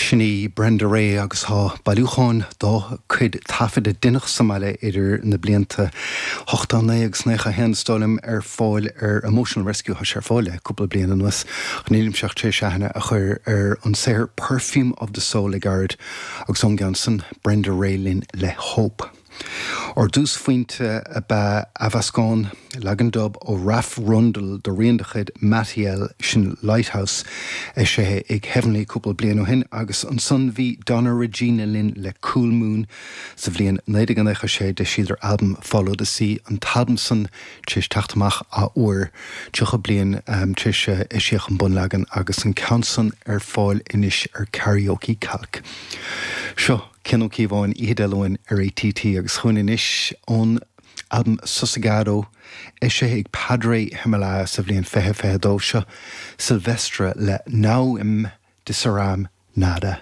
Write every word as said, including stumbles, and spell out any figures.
Sin í Brenda Rae agus tá bailiúchán dá cuid taifead a deineadh sa mbaile idir na blianta ochtó naoi agus naocha haon is dóigh liom ar fáil ar Emotional Rescue tá sé ar fáil le cúpla bliain anuas. Nílimse ach tar éis aithne a chur ar an saothar Perfume of the Soul le gairid agus ón gceann san Brenda Rae linn le Hope. Ár dtúsphointe ab ea athmheascán leagan dub ó Raf Rundle do rian de chuid Mattiel sin Lighthouse eisithe ag Heavenly cúpla bliain ó shin agus ansan bhí Donna Regina linn le Cool Moon sa bhliain naoi déag naocha sé d'eisigh albam Follow the Sea an t-albam san tar éis teacht amach athuair tríocha bliain um, tar éis eisíodh an bunleagan agus an ceann san ar fáil anois ar Karaoke Calc. Seo Cian Ó Cíobháin Oíche Dé Luain ar ATT agus chugainn anois ón albam Sosegado eisithe ag Padre Himalaya sa bhliain fiche fiche dó seo Silvestre le Não Me Disseram Nada.